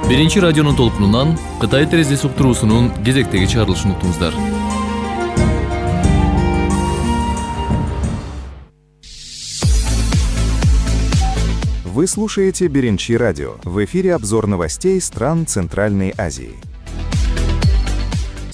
Биринчи радионун толкунунан Кытай терезеси уктуруусунун кезектеги чыгарылышын уктуңуздар. Вы слушаете Биринчи радио. В эфире обзор новостей стран Центральной Азии.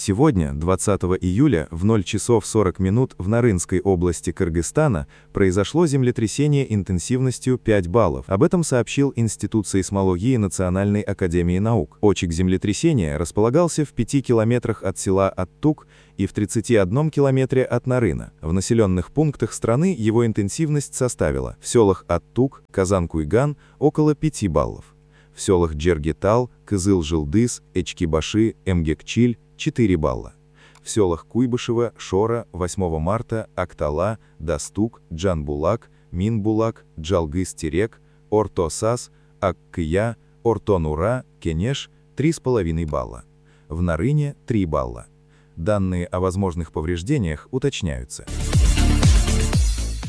Сегодня, 20 июля, в 0 часов 40 минут в Нарынской области Кыргызстана произошло землетрясение интенсивностью 5 баллов. Об этом сообщил Институт сейсмологии Национальной академии наук. Очаг землетрясения располагался в 5 километрах от села Аттук и в 31 километре от Нарына. В населенных пунктах страны его интенсивность составила в селах Аттук, Казан-Куйган около 5 баллов. В селах Джергетал, Кызыл-Жылдыз, Эчкибаши, Эмгекчиль 4 балла. В селах Куйбышево, Шора, 8 марта, Актала, Дастук, Джанбулак, Минбулак, Джалгыз-Терек, Орто-Сас, Аккыя, Орто-Нура, Кенеш 3,5 балла. В Нарыне 3 балла. Данные о возможных повреждениях уточняются.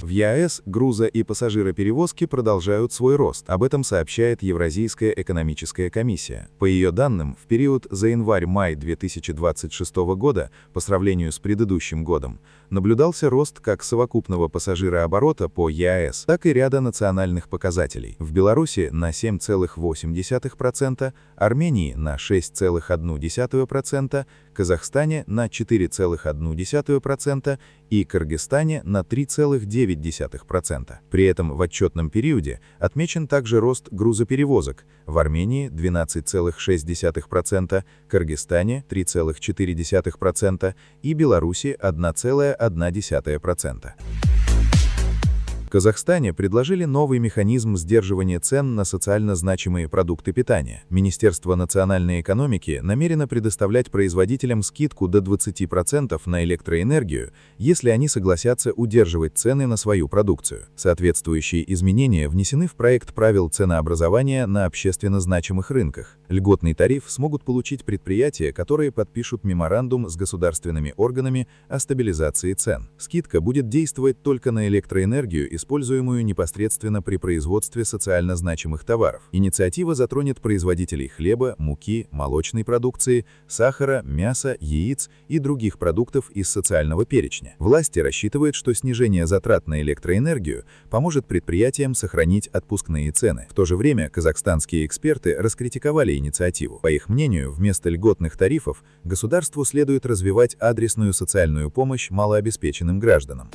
В ЕАЭС грузо- и пассажироперевозки продолжают свой рост. Об этом сообщает Евразийская экономическая комиссия. По ее данным, в период за январь-май 2026 года, по сравнению с предыдущим годом, наблюдался рост как совокупного пассажирооборота по ЕАЭС, так и ряда национальных показателей. В Беларуси на 7,8%, Армении на 6,1%, Казахстане на 4,1% и Кыргызстане на 3,9%. При этом в отчетном периоде отмечен также рост грузоперевозок. В Армении 12,6%, Кыргызстане 3,4% и Беларуси 1,1%. В Казахстане предложили новый механизм сдерживания цен на социально значимые продукты питания. Министерство национальной экономики намерено предоставлять производителям скидку до 20% на электроэнергию, если они согласятся удерживать цены на свою продукцию. Соответствующие изменения внесены в проект правил ценообразования на общественно значимых рынках. Льготный тариф смогут получить предприятия, которые подпишут меморандум с государственными органами о стабилизации цен. Скидка будет действовать только на электроэнергию, используемую непосредственно при производстве социально значимых товаров. Инициатива затронет производителей хлеба, муки, молочной продукции, сахара, мяса, яиц и других продуктов из социального перечня. Власти рассчитывают, что снижение затрат на электроэнергию поможет предприятиям сохранить отпускные цены. В то же время казахстанские эксперты раскритиковали инициативу. По их мнению, вместо льготных тарифов государству следует развивать адресную социальную помощь малообеспеченным гражданам.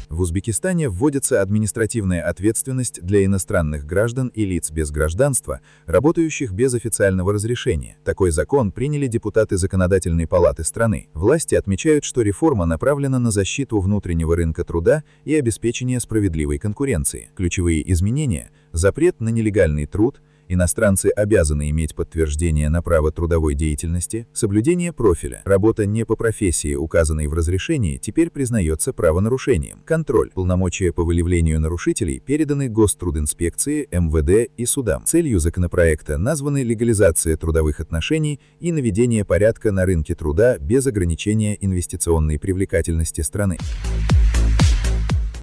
В Узбекистане вводится административная ответственность для иностранных граждан и лиц без гражданства, работающих без официального разрешения. Такой закон приняли депутаты Законодательной палаты страны. Власти отмечают, что реформа направлена на защиту внутреннего рынка труда и обеспечение справедливой конкуренции. Ключевые изменения – запрет на нелегальный труд, иностранцы обязаны иметь подтверждение на право трудовой деятельности, соблюдение профиля. Работа не по профессии, указанной в разрешении, теперь признается правонарушением. Контроль. Полномочия по выявлению нарушителей переданы Гострудинспекции, МВД и судам. Целью законопроекта названы легализация трудовых отношений и наведение порядка на рынке труда без ограничения инвестиционной привлекательности страны.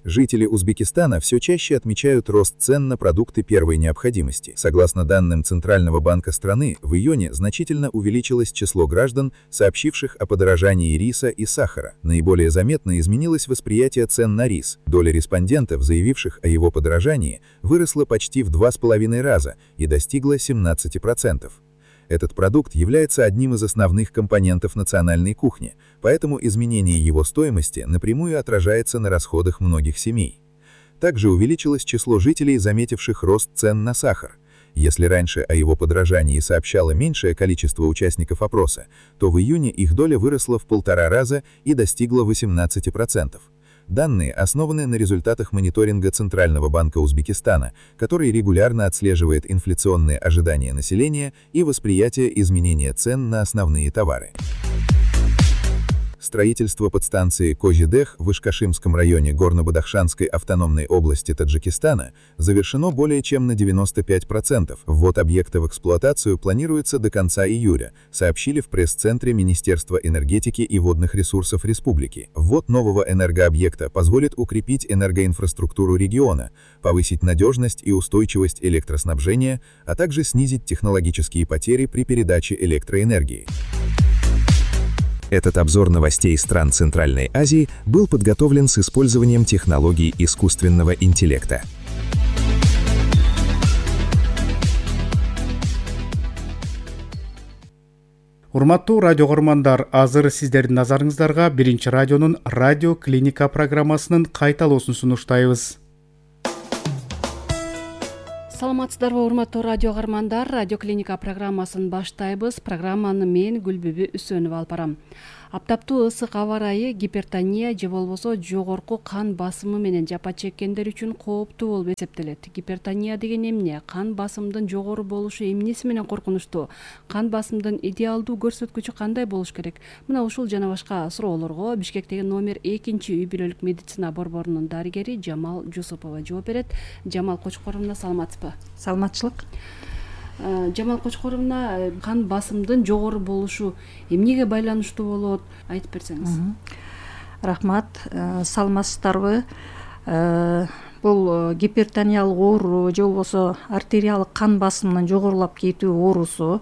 Жители Узбекистана все чаще отмечают рост цен на продукты первой необходимости. Согласно данным Центрального банка страны, в июне значительно увеличилось число граждан, сообщивших о подорожании риса и сахара. Наиболее заметно изменилось восприятие цен на рис. Доля респондентов, заявивших о его подорожании, выросла почти в 2,5 раза и достигла 17%. Этот продукт является одним из основных компонентов национальной кухни, поэтому изменение его стоимости напрямую отражается на расходах многих семей. Также увеличилось число жителей, заметивших рост цен на сахар. Если раньше о его подорожании сообщало меньшее количество участников опроса, то в июне их доля выросла в 1,5 раза и достигла 18%. Данные основаны на результатах мониторинга Центрального банка Узбекистана, который регулярно отслеживает инфляционные ожидания населения и восприятие изменения цен на основные товары. Строительство подстанции Козидех в Ишкашимском районе Горно-Бадахшанской автономной области Таджикистана завершено более чем на 95%. Ввод объекта в эксплуатацию планируется до конца июля, сообщили в пресс-центре Министерства энергетики и водных ресурсов республики. Ввод нового энергообъекта позволит укрепить энергоинфраструктуру региона, повысить надежность и устойчивость электроснабжения, а также снизить технологические потери при передаче электроэнергии. Этот обзор новостей стран Центральной Азии был подготовлен с использованием технологий искусственного интеллекта. Урматтуу радио көрөрмандар, азыр сиздердин назарыңыздарга биринчи радионун радио клиника программасынын кайталоосун сунуштайбыз. Саламатсыздарбы, урматтуу радио көрөрмандар, радио клиника программасын баштайбыз. Программаны мен Гүлбүбү Үсөнова алып барам. Аптаптуу ысык аба ырайы гипертония же болбосо жогорку кан басымы менен жапа чеккендер үчүн кооптуу болуп эсептелет. Гипертония деген эмне? Кан басымдын жогору болушу эмнеси менен коркунучтуу? Кан басымдын идеалдуу көрсөткүчү кандай болуш керек? Мына ушул жана башка суроолорго Бишкектеги номер 2 үй бүлөлүк медицина борборунун дарыгери Жамал Жусупова жооп берет. Жамал Кочкоровна, саламатсызбы? Саламатчылык. Жамал Кочкоровна, кан басымдын жогору болушу эмнеге байланыштуу болот? Айтып берсеңиз. Рахмат. Саламатсыздарбы? Бул гипертониялык оору же болбосо артериялык кан басымынын жогорулап кетүү оорусу.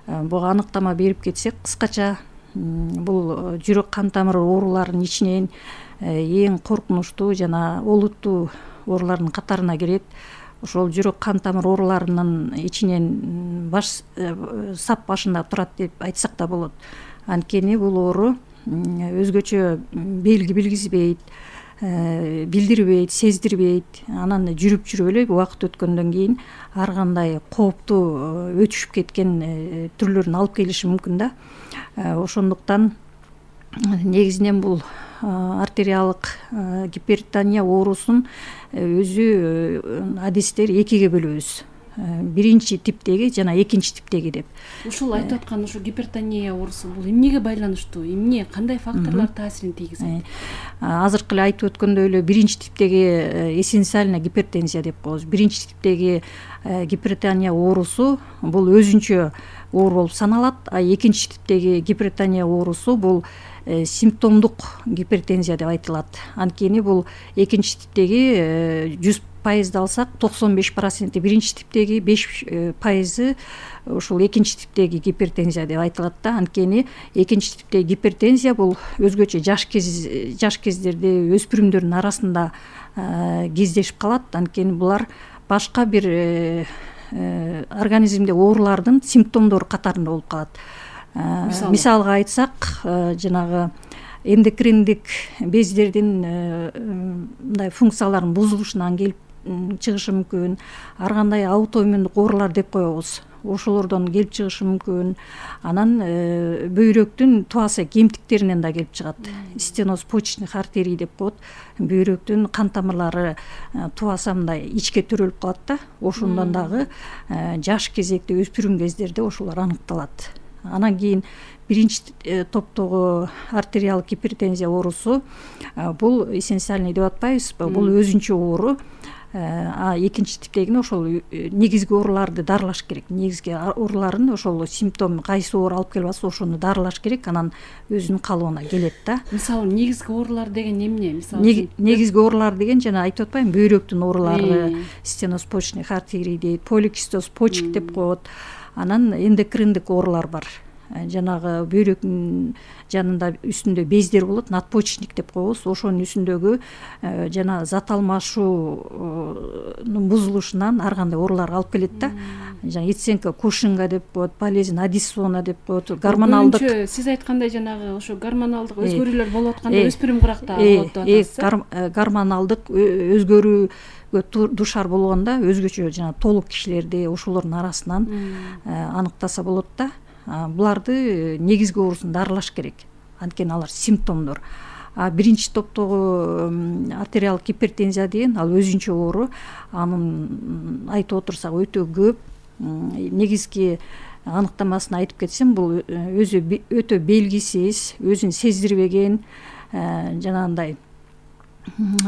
Буга аныктама берип кетсек, кыскача бул жүрөк кан тамыры ооруларынын ичинен эң коркунучтуу жана олуттуу оорулардын катарына кирет. Ошол жүрөк кан тамыр ооруларынын ичинен баш сап башында турат деп айтсак да болот. Анткени бул оору өзгөчө белги билгизбейт, билдирбейт, сездирбейт. Анан жүрүп эле убакыт өткөндөн кийин ар кандай кооптуу өтүшүп кеткен түрлөрүн алып келиши мүмкүн да. Ошондуктан негизинен бул артериялык гипертония оорусун өзү адистер экиге бөлөбүз. Биринчи типтеги жана экинчи типтеги деп. Ушул айтып аткан ушу гипертония оорусу бул эмнеге байланыштуу? Эмне, кандай факторлор таасирин тийгизет? Азыркы эле айтып өткөндөй эле биринчи типтеги эссенциальная гипертензия деп коебуз. Биринчи типтеги гипертония оорусу бул өзүнчө оору болуп саналат, а экинчи типтеги гипертония оорусу бул симптомдук гипертензия деп айтылат. Анткени бул экинчи типтеги 100% алсак 95% биринчи типтеги, 5% ушул экинчи типтеги гипертензия деп айтылат да. Анткени экинчи типтеги гипертензия бул өзгөчө жаш кездерде өспүрүмдөрдүн арасында кездешип калат. Анткени булар башка бир организмде оорулардын симптомдору катарында болуп калат. Мисалга айтсак, жанагы эндокриндик бездердин мындай функцияларынын бузулушунан келип чыгышы мүмкүн. Ар кандай аутоиммундук оорулар деп коебуз. Ошолордон келип чыгышы мүмкүн. Анан бөйрөктүн туасы кемтиктеринен да келип чыгат. Стеноз почечных артерий деп коет. Бөйрөктүн кан тамырлары туаса мындай ичке төрөлүп калат да. Ошондон дагы жаш кезекте өспүрүм кездерде ошолор аныкталат. Анан кийин биринчи топтогу артериялык гипертензия оорусу бул эссенциальный деп атпайбызбы? Бул өзүнчө оору. А экинчи типтегине ошол негизги ооруларды дарылаш керек. Негизги ооруларын ошол симптом кайсы оору алып келип атса ошону дарылаш керек. Анан өзүнүн калыбына келет да. Мисалы негизги оорулар деген эмне? Мисалы негизги оорулар деген жана айтып атпаймынбы? Бөйрөктүн оорулары, стеноз почечных артерий дейт, поликистоз почек деп коет. Анан эндокриндик оорулар бар. Жанагы бөйрөктүн жанында үстүндө бездер болот, надпочечник деп коебуз. Ошонун үстүндөгү жана зат алмашуунун бузулушунан ар кандай ооруларга алып келет да. Жана Иценко Кушинга деп коет, болезнь Аддисона деп коет, гормоналдык. Сиз айткандай жанагы ошо гормоналдык өзгөрүүлөр болуп атканда өспүрүм кыракта болот деп атасыз. Гормоналдык өзгөрүү душар болгондо өзгөчө жана толук кишилерде ошолордун арасынан аныктаса болот да. Буларды негизги оорусун дарылаш керек. Анткени алар симптомдор. Биринчи топтогу артериялык гипертензия деген ал өзүнчө оору. Анын айтып отурсак өтө көп. Негизги аныктамасын айтып кетсем, бул өзү өтө белгисиз, өзүн сездирбеген, жанагындай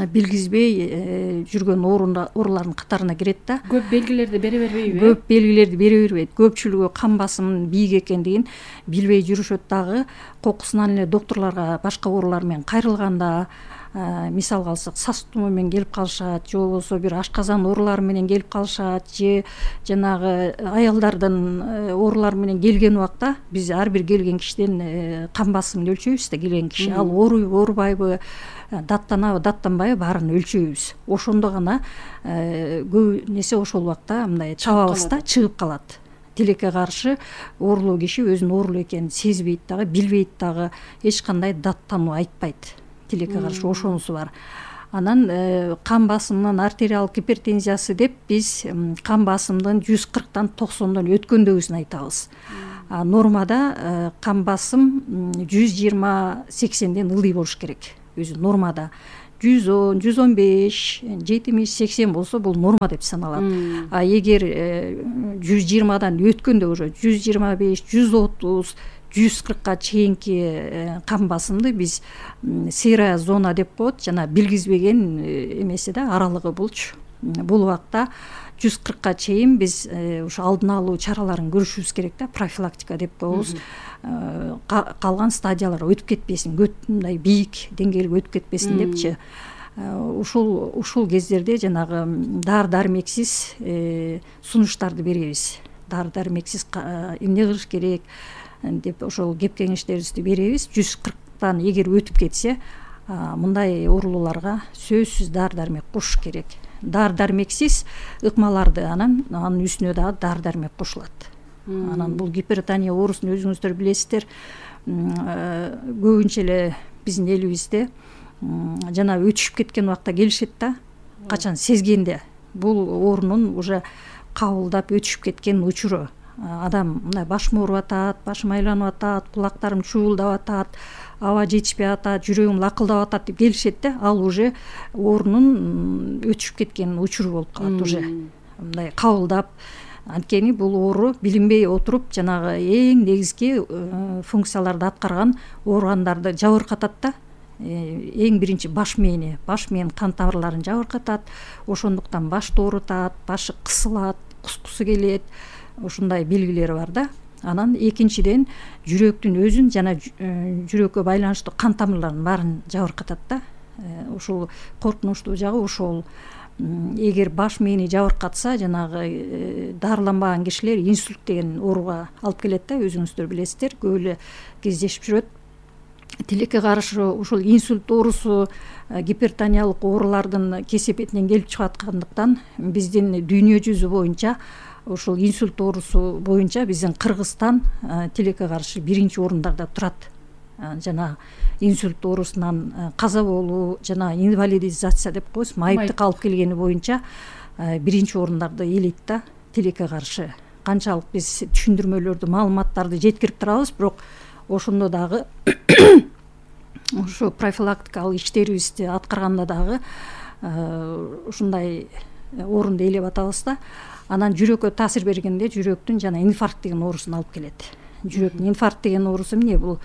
билгизбей жүргөн оорулардын катарына кирет да. Көп белгилерди бере бербейби? Көп белгилерди бере бербейт. Көпчүлүгү кан басымынын бийик экендигин билбей жүрүшөт дагы. Кокусунан эле доктурларга башка оорулар менен кайрылганда, мисалга алсак, сас тумоо менен келип калышат, же болбосо бир ашказан оорулары менен келип калышат, же жанагы аялдардын оорулары менен келген убакта биз ар бир келген кишиден кан басымын өлчөйбүз да. Келген киши ал ооруйбу, оорубайбы, даттанабы, даттанбайбы, баарын өлчөйбүз. Ошондо гана көп нерсе ошол убакта мындай чабабыз да, чыгып калат. Тилекке каршы оорулуу киши өзүнүн оорулуу экенин сезбейт дагы, билбейт дагы, эч кандай даттануу айтпайт. Тилекке каршы ошонусу бар. Анан кан басымынын артериалдык гипертензиясы деп биз кан басымдын 140тан 90дон өткөндөгүсүн айтабыз. Нормада кан басым 120-80ден ылдый болуш керек. Өзү нормада 110, 115, 70, 80 болсо бул норма деп саналат. Эгер 120дан өткөндө уже 125, 130, 140ка чейинки кан басымды биз серая зона деп коет, жана билгизбеген эмеси да, аралыгы булчу. Бул убакта 140ка чейин биз ушу алдын алуу чараларын көрүшүбүз керек да, профилактика деп коебуз. Калган стадиялар өтүп кетпесин, мындай бийик деңгээлге өтүп кетпесин депчи. Ушул кездерде жанагы дары-дармексиз сунуштарды беребиз. Дары-дармексиз эмне кылыш керек деп ошол кеп кеңештерибизди беребиз. 140тан эгер өтүп кетсе, мындай оорулууларга сөзсүз дары-дармек кошуш керек. Дары-дармексиз ыкмаларды анын үстүнө дагы дары-дармек кошулат. Анан бул гипертония оорусун өзүңүздөр билесиздер. Көбүнчө эле биздин элибизде жана өтүшүп кеткен убакта келишет да, качан сезгенде бул оорунун уже кабылдап өтүшүп кеткен учуру. Адам мындай башым ооруп атат, башым айланып атат, кулактарым чуулдап атат, аба жетишпей атат, жүрөгүм лакылдап атат деп келишет да, ал уже оорунун өтүшүп кеткен учуру болуп калат уже. Мындай кабылдап, анткени бул оору билинбей отуруп жанагы эң негизги функцияларды аткарган органдарды жабыркатат да. Эң биринчи баш мээни, баш мээн кан тамырларын жабыркатат. Ошондуктан башты оорутат, башы кысылат, кускусу келет. Ушундай белгилери бар да. Анан экинчиден жүрөктүн өзүн жана жүрөккө байланыштуу кан тамырларын баарын жабыркатат да. Ушул коркунучтуу жагы ошол. Эгер баш мээни жабыркатса, жанагы дарыланбаган кишилер инсульт деген ооруга алып келет да, өзүңүздөр билесиздер, көп эле кездешип жүрөт. Тилекке каршы ушул инсульт оорусу гипертониялык оорулардын кесепетинен келип чыгып аткандыктан биздин дүйнө жүзү боюнча ушул инсульт оорусу боюнча биздин Кыргызстан тилекке каршы биринчи орундарда турат. Жана инсульт оорусунан каза болуу жана инвалидизация деп коебуз, майыптык алып келгени боюнча биринчи орундарды ээлейт да, тилекке каршы. Канчалык биз түшүндүрмөлөрдү, маалыматтарды жеткирип турабыз, бирок ошондо дагы ушу профилактикалык иштерибизди аткарганда дагы ушундай орунду ээлеп атабыз да. Анан жүрөккө таасир бергенде жүрөктүн жана инфаркт деген оорусун алып келет. Жүрөктүн инфаркт деген оорусу эмне? Бул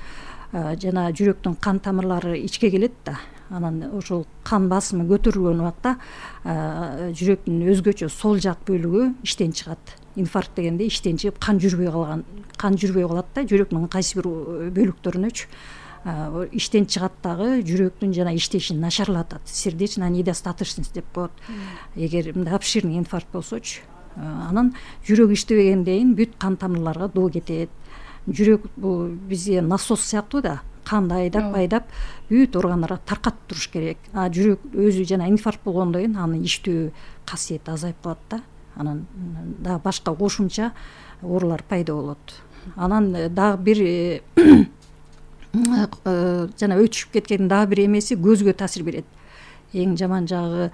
жана жүрөктүн кан тамырлары ичке келет да. Анан ошол кан басымы көтөрүлгөн убакта жүрөктүн өзгөчө сол жак бөлүгү иштен чыгат. Инфаркт дегенде иштен чыгып кан жүрбөй калат да, жүрөктүн кайсы бир бөлүктөрүнөчү. Иштен чыгат дагы жүрөктүн жана иштешин начарлатат. Сердечная недостаточность деп коет. Эгер мындай обширный инфаркт болсочу. Анан жүрөк иштебегенден кийин бүт кан тамырларга доо кетет. Жүрөк бул бизге насос сыяктуу да, канды айдап бүт органдарга таркатып туруш керек. Жүрөк өзү жана инфаркт болгондон кийин анын иштөө касиети азайып калат да. Анан дагы башка кошумча оорулар пайда болот. Анан дагы бир жана өтүшүп кеткен дагы бир эмеси көзгө таасир берет. Эң жаман жагы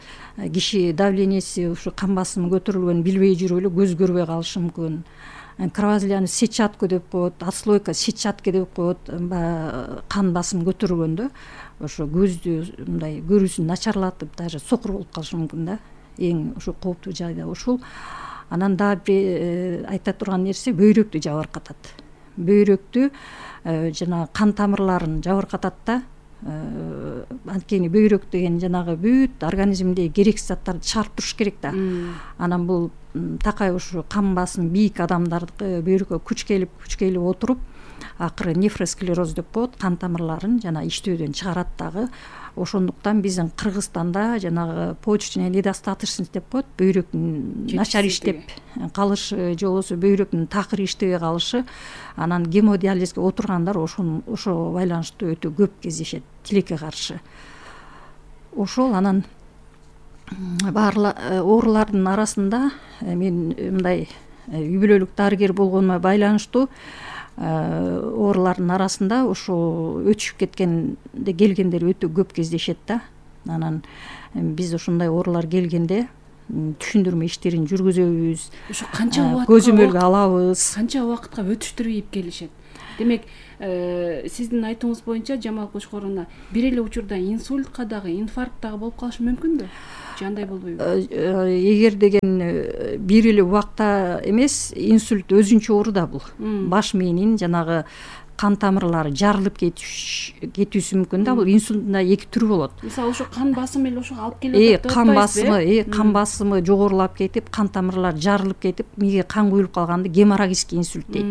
киши давлениеси, ушу кан басымы көтөрүлгөн билбей жүрүп эле көз көрбөй калышы мүмкүн. Кровоизлияние сетчатка деп коет, отслойка сетчатка деп коет. Кан басымы көтөрүлгөндө ошо көздү мындай көрүүсүн начарлатып, даже сокур болуп калышы мүмкүн да. Эң ушу кооптуу жайда ушул. Анан дагы бир айта турган нерсе бөйрөктү жабыркатат. Бөйрөктү жана кан тамырларын жабыркатат да. Анткени бөйрөк деген жанагы бүт организмдеги керексиз заттарды чыгарып туруш керек да. Анан бул такай ушу кан басымы бийик адамдардыкы бөйрөккө күч келип отуруп акыры нефросклероз деп коет, кан тамырларын жана иштөөдөн чыгарат дагы. Ошондуктан биздин Кыргызстанда жанагы почечная недостаточность деп коет, бөйрөктүн начар иштеп калышы же болбосо бөйрөктүн такыр иштебей калышы, анан гемодиализге отургандар ошо байланыштуу өтө көп кездешет тилекке каршы. Ошол анан оорулардын арасында мен мындай үй бүлөлүк дарыгер болгонума байланыштуу оорулардын арасында ошо өтүшүп келгендер өтө көп кездешет да. Анан биз ошондой оорулар келгенде түшүндүрмө иштерин жүргүзөбүз. Ошо канча убакытка көзөмөлгө алабыз. Канча убакытка өтүштүрүп келишет? Демек, сиздин айтууңуз боюнча Жамал Кочкоровна, бир эле учурда инсультка дагы, инфаркт дагы болуп калышы мүмкүнбү? Же андай болбойбу? Эгер деген бир эле убакта эмес, инсульт өзүнчө оору да бул. Баш мээнин жанагы кан тамырлары жарылып кетүүсү мүмкүн да. Бул инсульттун да эки түрү болот. Мисалы ошо кан басымы эле ошого алып келип атат. Кан басымы жогорулап кетип, кан тамырлары жарылып кетип, мээге кан куюлуп калганды геморрагический инсульт дейт.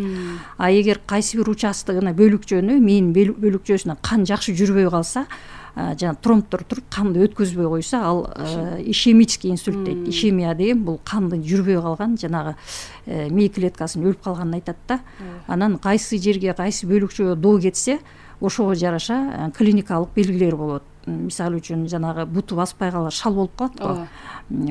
А эгер кайсы бир участогуна бөлүкчөнү, мээн бөлүкчөсүнө кан жакшы жүрбөй калса, жана тромбдор туруп канды өткөзбөй койсо, ал ишемический инсульт дейт. Ишемия деген бул кандын жүрбөй калган жанагы мээ клеткасынын өлүп калганын айтат да. Анан кайсы жерге, кайсы бөлүкчөгө доо кетсе, ошого жараша клиникалык белгилер болот. Мисалы үчүн жанагы буту баспай калат, шал болуп калат го.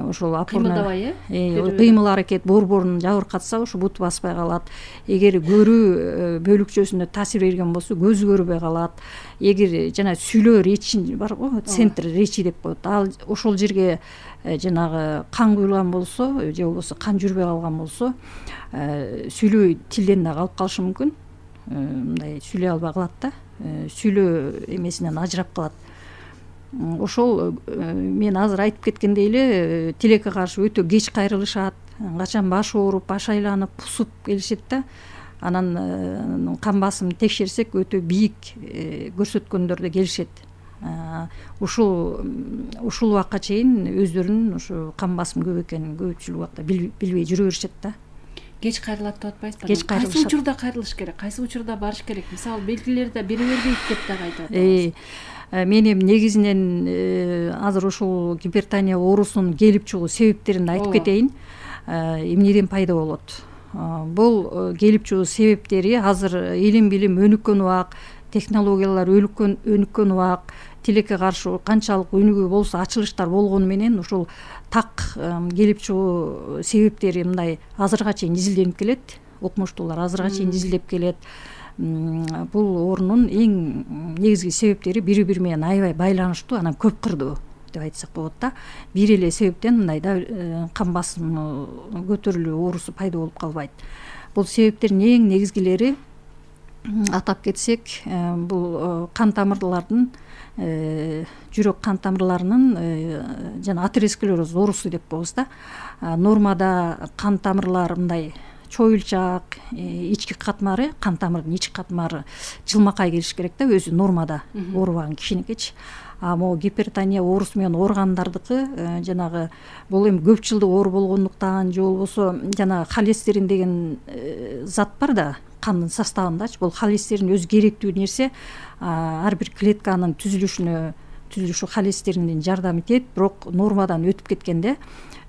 Ошол кыймылдабай, кыймыл аракет борборун жабыркатса, ошо буту баспай калат. Эгер көрүү бөлүкчөсүнө таасир берген болсо, көзү көрбөй калат. Эгер жана сүйлөө речи бар го, центр речи деп коет. Ал ошол жерге жанагы кан куюлган болсо, же болбосо кан жүрбөй калган болсо, сүйлөө тилден да калып калышы мүмкүн. Мындай сүйлөй албай калат да. Сүйлөө эмесинен ажырап калат. Ошол мен азыр айтып кеткендей эле тилекке каршы өтө кеч кайрылышат, качан баш ооруп, баш айланып, пусуп келишет да. Анан кан басымын текшерсек өтө бийик көрсөткөндөр да келишет. Ушул убакка чейин өздөрүнүн ушу кан басымы көп экенин көпчүлүк убакта билбей жүрө беришет да. Кеч кайрылат деп атпайсызбы? Кеч кайрылышат. Кайсы учурда кайрылыш керек, кайсы учурда барыш керек? Мисалы белгилери да бере бербейт деп дагы айтып атабыз. Мен эми негизинен азыр ушул гипертония оорусунун келип чыгуу себептерин айтып кетейин. Эмнеден пайда болот? Бул келип чыгуу себептери азыр илим билим өнүккөн убак, технологиялар өнүккөн убак, тилекке каршы канчалык өнүгүү болсо, ачылыштар болгону менен ушул так келип чыгуу себептери мындай азырга чейин изилденип келет. Окумуштуулар азырга чейин изилдеп келет. Бул оорунун эң негизги себептери бири-бири менен аябай байланыштуу, анан көп кырдуу деп айтсак болот да. Бир эле себептен мындай да кан басымы көтөрүлүү оорусу пайда болуп калбайт. Бул себептердин эң негизгилери атап кетсек, бул кан тамырлардын жүрөк кан тамырларынын жана атеросклероз оорусу деп коебуз да. Нормада кан тамырлар мындай чоюлчак, ички катмары, кан тамырдын ички катмары жылмакай келиш керек да, өзү нормада оорубаган кишинекичи. А могу гипертония оорусу менен ооругандардыкы жанагы бул эми көп жылдык оору болгондуктан же болбосо жанагы холестерин деген зат бар да кандын составындачы. Бул холестерин өзү керектүү нерсе, ар бир клетканын түзүлүшү холестеринден жардам этет, бирок нормадан өтүп кеткенде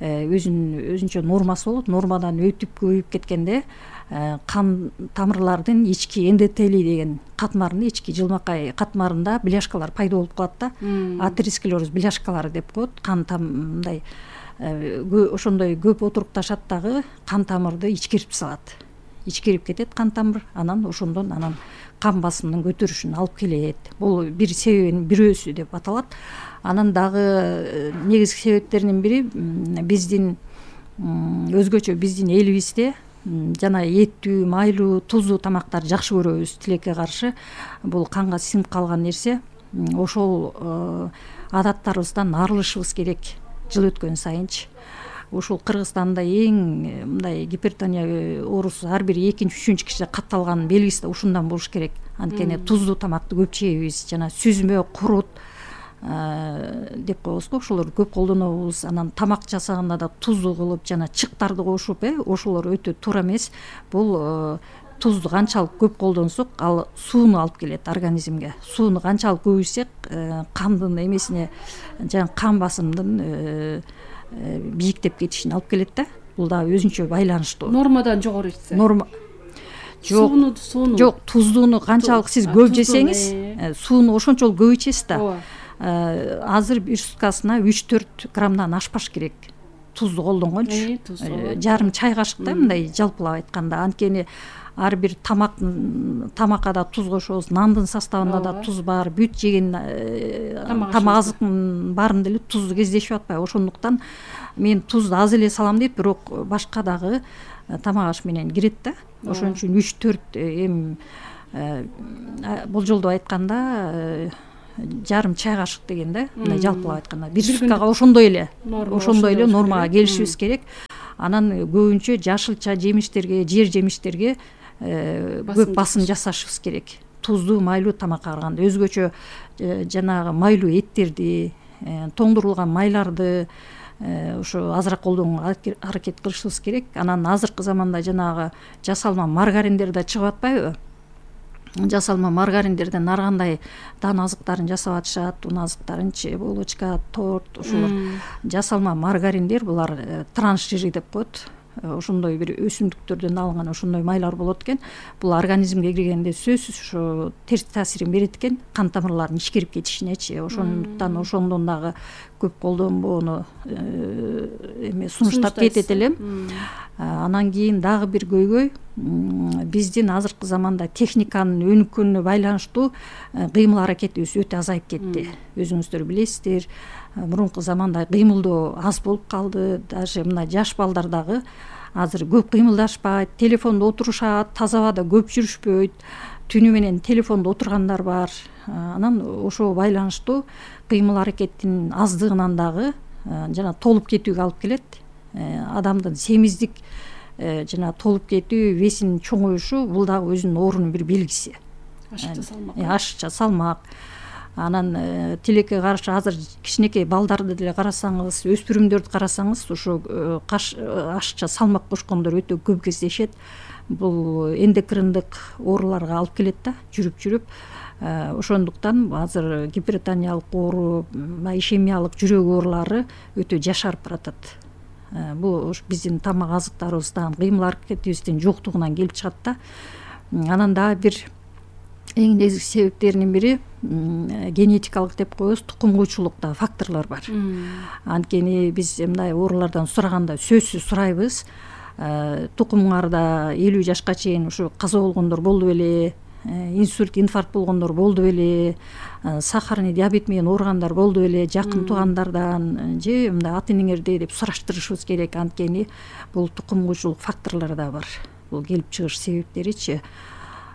өзүнчө нормасы болот. Нормадан өтүп көбөйүп кеткенде кан тамырлардын ички эндотелий деген катмарында, ички жылмакай катмарында бляшкалар пайда болуп калат да. Атеросклероз бляшкалары деп коет. Кан мындай ошондой көп отурукташат дагы кан тамырды ичкерип салат. Ичкерип кетет кан тамыр, анан ошондон кан басымынын көтөрүшүнө алып келет. Бул бир себебинин бирөөсү деп аталат. Анан дагы негизги себептеринин бири биздин өзгөчө биздин элибизде жана эттүү, майлуу, тузлуу тамактарды жакшы көрөбүз. Тилекке каршы бул канга сиңип калган нерсе. Ошол адаттарыбыздан арылышыбыз керек жыл өткөн сайынчы. ушул Кыргызстанда эң мындай гипертония оорусу ар бир экинчи үчүнчү кишиде катталган белгиси да ушундан болуш керек. Анткени туздуу тамакты көп жейбиз, жана сүзмө, курут деп коебуз го, ошолорду көп колдонобуз. Анан тамак жасаганда да туздуу кылып жана чыктарды кошуп, ошолор өтө туура эмес. Бул тузду канчалык көп колдонсок, ал сууну алып келет организмге. Сууну канчалык көп ичсек, кандын эмесине, жана кан басымдын бийиктеп кетишине алып келет да. Бул да өзүнчө байланыштуу. Нормадан жогору ичсе. Сууну жок, туздууну канчалык сиз көп жесеңиз, сууну ошончолук көп ичесиз да. Азыр бир суткасына 3-4 граммдан ашпаш керек. Тузду колдонгончу. Жарым чай кашыктай мындай жалпылап айтканда. Анткени ар бир тамакка да туз кошобуз, нандын составында да туз бар, бүт жеген тамак азыктын баарында эле тузду кездешип атпайбы. Ошондуктан мен тузду аз эле салам дейт, бирок башка дагы тамак аш менен кирет да. Ошон үчүн 3-4 эми болжолдоп айтканда жарым чай кашык деген да, мындай жалпылап айтканда. Бир суткага ошондой эле нормага келишибиз керек. Анан көбүнчө жашылча жемиштерге, жер жемиштерге көп басым жасашыбыз керек. Туздуу, майлуу тамакка караганда өзгөчө жанагы майлуу эттерди, тоңдурулган майларды ошо азыраак колдонууга аракет кылышыбыз керек. Анан азыркы заманда жанагы жасалма маргариндер да чыгып атпайбы? Жасалма маргариндерден ар кандай дан азыктарын жасап атышат, ун азыктарынчы, булочка, торт, ошолор. Жасалма маргариндер булар трансжири деп коет. Ошондой бир өсүмдүктөрдөн алынган ошондой майлар болот экен. Бул организмге киргенде сөзсүз ошо терс таасирин берет экен, кан тамырларынын ишкерип кетишинечи. Ошондуктан ошондон дагы көп колдонбоону сунуштап кетет элем. Анан кийин дагы бир көйгөй, биздин азыркы заманда техниканын өнүккөнүнө байланыштуу кыймыл аракетибиз өтө азайып кетти. Өзүңүздөр билесиздер, мурунку заманда кыймылдоо аз болуп калды. Даже мына жаш балдар дагы азыр көп кыймылдашпайт, телефондо отурушат, таза абада көп жүрүшпөйт, түнү менен телефондо отургандар бар. Анан ошого байланыштуу кыймыл аракеттин аздыгынан дагы жана толуп кетүүгө алып келет. Адамдын семиздик жана толуп кетүү, весинин чоңоюшу бул дагы өзүнүн оорунун бир белгиси. Ашыкча салмак. Анан тилекке каршы азыр кичинекей балдарды деле карасаңыз, өспүрүмдөрдү карасаңыз, ошо ашыкча салмак кошкондор өтө көп кездешет. Бул эндокриндик ооруларга алып келет да, жүрүп. Ошондуктан азыр гипертониялык оору, ишемиялык жүрөк оорулары өтө жашарып баратат. Бул биздин тамак азыктарыбыздан, кыймыл аракетибиздин жоктугунан келип чыгат да. Анан дагы бир эң негизги себептеринин бири генетикалык деп коебуз, тукумгуйчулукта факторлор бар. Анткени биз мындай оорулардан сураганда сөзсүз сурайбыз. Тукумуңарда 50 жашка чейин ушу каза болгондор болду беле, инсульт, инфаркт болгондор болду беле, сахарный диабет менен ооругандар болду беле, жакын туугандардан же мындай ата-энеңерде деп сураштырышыбыз керек. Анткени бул тукумгуйчулук факторлору да бар. Бул келип чыгыш себептеричи.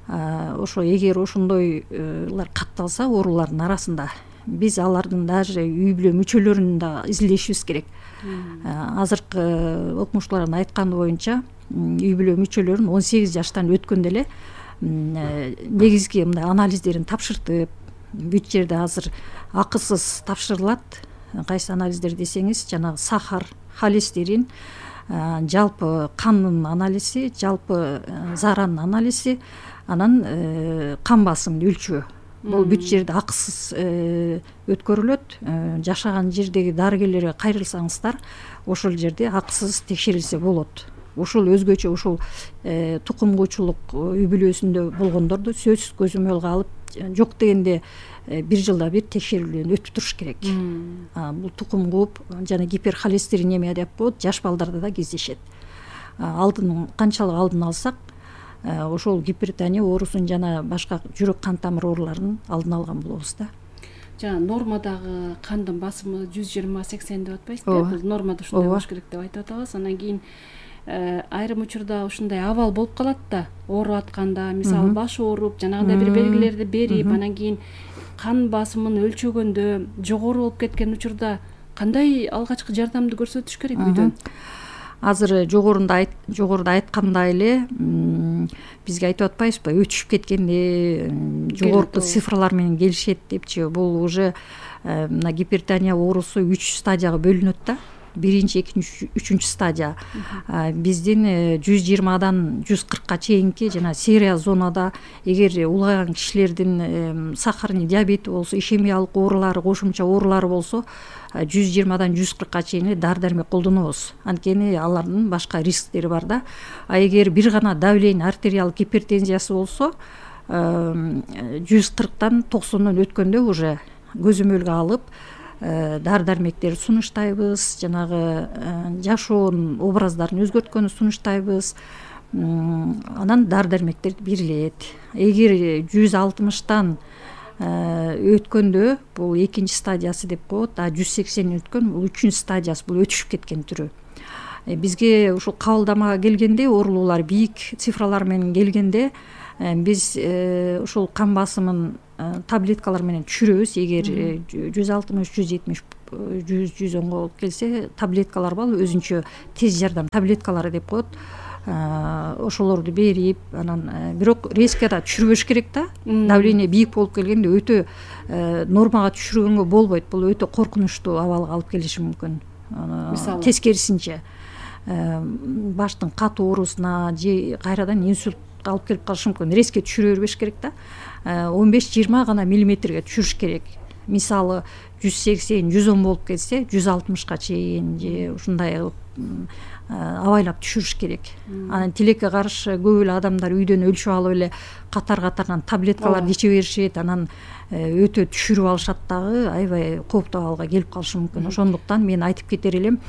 Ошо эгер ошондойлар катталса оорулардын арасында, биз алардын даже үй бүлө мүчөлөрүн да изилдешибиз керек. Азыркы окумуштуулардын айтканы боюнча, үй бүлө мүчөлөрүн 18 жаштан өткөндө эле негизги мындай анализдерин тапшыртып, бүт жерде азыр акысыз тапшырылат. Кайсы анализдер десеңиз, жанагы сахар, холестерин, жалпы кандын анализи, жалпы зааранын анализи, анан кан басымын өлчөө. Бул бүт жерде акысыз өткөрүлөт. Жашаган жердеги дарыгерлерге кайрылсаңыздар, ошол жерде акысыз текшерилсе болот. Ушул өзгөчө ушул тукумгуйчулук үй бүлөсүндө болгондорду сөзсүз көзөмөлгө алып, жок дегенде 1 жылда бир текшерүүлдөн өтүп туруш керек. Бул тукум кууп жана гиперхолестеринемия деп коет, жаш балдарда да кездешет. Канчалык алдын алсак, ошол гипертония оорусун жана башка жүрөк кан тамыр ооруларын алдын алган болобуз да. Жана нормадагы кандын басымы 120-80 деп атпайсызбы? Бул нормада ушундай болуш керек деп айтып атабыз. Анан кийин айрым учурда ушундай абал болуп калат да, ооруп атканда, мисалы баш ооруп, жанагындай бир белгилерди берип, анан кийин кан басымын өлчөгөндө жогору болуп кеткен учурда кандай алгачкы жардамды көрсөтүш керек үйдөн? Азыр жогоруда айткандай эле бизге айтып атпайбызбы, өтүшүп кеткенде жогорку цифрлар менен келишет депчи. Бул уже мына гипертония оорусу 3 стадияга бөлүнөт да. Биринчи, экинчи, үчүнчү стадия. Биздин 120дан 140ка чейинки жана серия зонада эгер улгайган кишилердин сахарный диабети болсо, ишемиялык оорулары, кошумча оорулары болсо 120дан 140ка чейин дары дармек колдонобуз. Анткени алардын башка рисктери бар да. А эгер бир гана давление, артериалдык гипертензиясы болсо 140дан 90дон өткөндө уже көзөмөлгө алып дары дармектерди сунуштайбыз, жанагы жашоонун образдарын өзгөрткөнү сунуштайбыз. Анан дары дармектер берилет. Эгер 160тан өткөндө бул экинчи стадиясы деп коет, а 180 өткөн бул үчүнчү стадиясы, бул өтүшүп кеткен түрү. Бизге ушул кабылдамага келгенде, оорулуулар бийик цифралар менен келгенде биз ушул кан басымын таблеткалар менен түшүрөбүз. Эгер 160, 170, 100-110го келсе, таблеткалар бар, өзүнчө тез жардам таблеткалары деп коет. Ошолорду берип, анан бирок резко түшүрбөш керек да. Давление бийик болуп келгенде өтө нормага түшүргөнгө болбойт. Бул өтө коркунучтуу абалга алып келиши мүмкүн. Мисалы тескерисинче баштын катуу оорусуна же кайрадан инсульт алып келип калышы мүмкүн. Резко түшүрө бербеш керек да. 15-20 гана миллиметрге түшүрүш керек. Мисалы 180, 110 болуп кетсе, 160ка чейин же ушундай абайлап түшүрүш керек. Анан тилекке каршы көп эле адамдар үйдөн өлчүп алып эле катар-катардан таблеткаларды иче беришет, анан өтө түшүрүп алышат дагы, аябай кооптуу абалга келип калышы мүмкүн. Ошондуктан мен айтып кетер элем,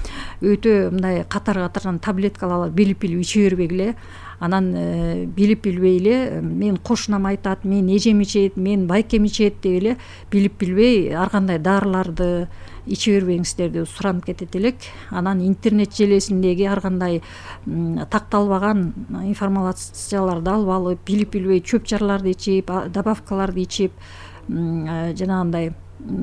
өтө мындай катар-катардан таблеткаларды билип иче бербегиле. Анан билип-билбей эле мен кошунам айтат, мен эжем ичет, мен байкем ичет деп эле билип-билбей ар кандай дарыларды иче бербеңиздер деп суранып кетет элек. Анан интернет желесиндеги ар кандай такталбаган информацияларды алып алып, билип-билбей чөп жарларды ичип, добавкаларды ичип, жанагындай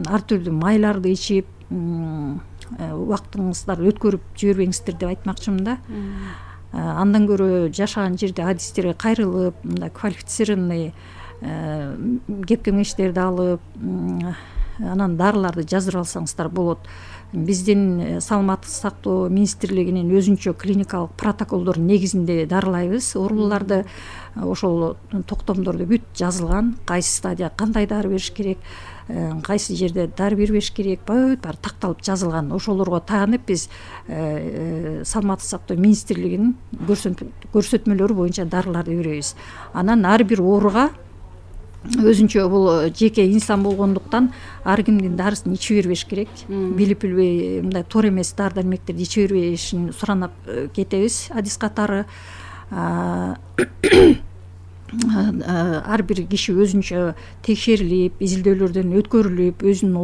ар түрдүү майларды ичип, убактыңыздарды өткөрүп жибербеңиздер деп айтмакчымын да. Андан көрө жашаган жерде адистерге кайрылып, мындай квалифицированный кеп кеңештерди алып, анан дарыларды жаздырып алсаңыздар болот. Биздин саламаттык сактоо министрлигинин өзүнчө клиникалык протоколдордун негизинде дарылайбыз оорулууларды. Ошол токтомдордо бүт жазылган, кайсы стадия кандай дары бериш керек, кайсы жерде дары бербеш керек, баары такталып жазылган. Ошолорго таанып биз саламаттык сактоо министрлигинин көрсөтмөлөрү боюнча дарыларды беребиз. Анан ар бир ооруга өзүнчө бул жеке инсан болгондуктан ар кимдин дарысын иче бербеш керек. Билип-билбей мындай туура эмес дары дармектерди иче бербешин суранып кетебиз адис катары. Ар бир киши өзүнчө текшерилип, изилдөөлөрдөн өткөрүлүп, өзүнүн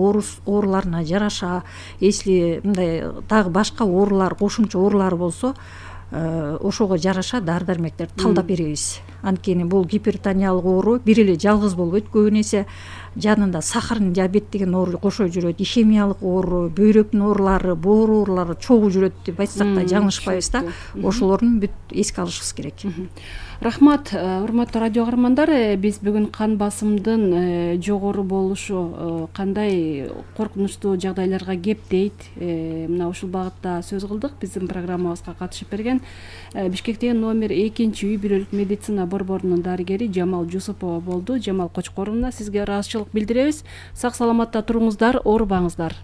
ооруларына жараша, если мындай дагы башка оорулар, кошумча оорулары болсо, ошого жараша дары дармектерди талдап беребиз. Анткени бул гипертониялык оору бир эле жалгыз болбойт, көбүн эсе жанында сахарный диабет деген оору кошо жүрөт, ишемиялык оору, бөйрөктүн оорулары, боор оорулары чогуу жүрөт деп айтсак да жаңылышпайбыз да. Ошолордун бүт эске алышыбыз керек. Рахмат, урматтуу радио каармандар. Биз бүгүн кан басымдын жогору болушу кандай коркунучтуу жагдайларга кептейт, мына ушул багытта сөз кылдык. Биздин программабызга катышып берген Бишкектеги номер 2-үй бүлөлүк медицина борборунун дарыгери Жамал Жусупова болду. Жамал Кочкоровна, сизге ыраазычылык билдиребиз. Сак саламатта туруңуздар, оорубаңыздар.